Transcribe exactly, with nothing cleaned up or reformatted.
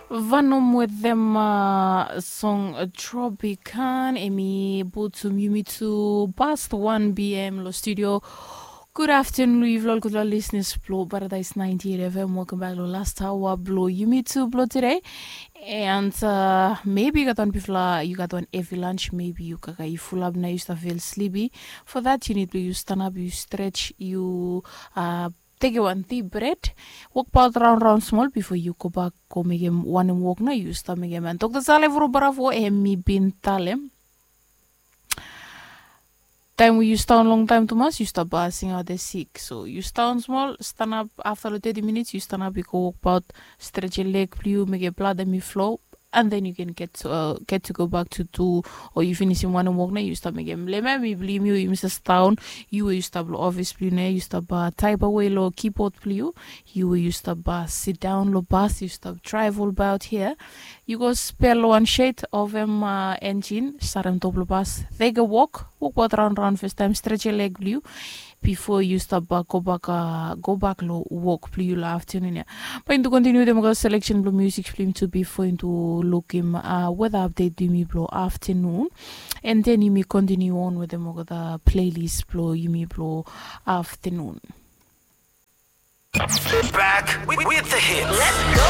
Vanom wetem song Tropican, emi putum yumi tu past wan p.m. lo studio. Gud aftenun long yufala ol gudfala listeners blo Paradise ninety-eight F M. Welcome back lo last hour blo yumi tu blo today. And uh, maybe you got one bifla, you got one heavy lunch, maybe you kaka you full up now, you start feel sleepy. For that, you need to you stand up, you stretch, you uh, take a one deep breath, walk about round round small before you go back, go make him one him walk now, you start make him. And Doctor Saleh Vuru Bravo, him me bin talem. Taem we yu staon longtaem tumas yu stap singaot e sik. So yu staon smol, stanap afta long teti minits yu stanap, yu go wokbaot, stret yu leg blong yu, mekem blad hem i flo. And then yu ken get to go back to tu, o yu finisim wanem wok nao yu stap mekem. Lema mi blong yu, yu mista staon. Yu we yu stap long ofis blong yu nao yu stap taepawe long kibod blong yu. Yu we yu stap sidaon long bas, yu stap draev olbaot hia. Yu go spel long wan shed, ovem enjin, starem top long bas, teke wok, wokbaot raon raon fastaem, stret yu leg blong yu bifo yu stap go bak, go bak long wok blong yu long aftenun ya. Bae yumi tu kontiniu wetem olgeta seleksen blong musik blong yumi tu bifo yumi tu lukim weta apdet blong yumi blong aftenun. And then yumi kontiniu on wetem olgeta pleilis blong yumi blong aftenun. Back with, with the hits. Let's go.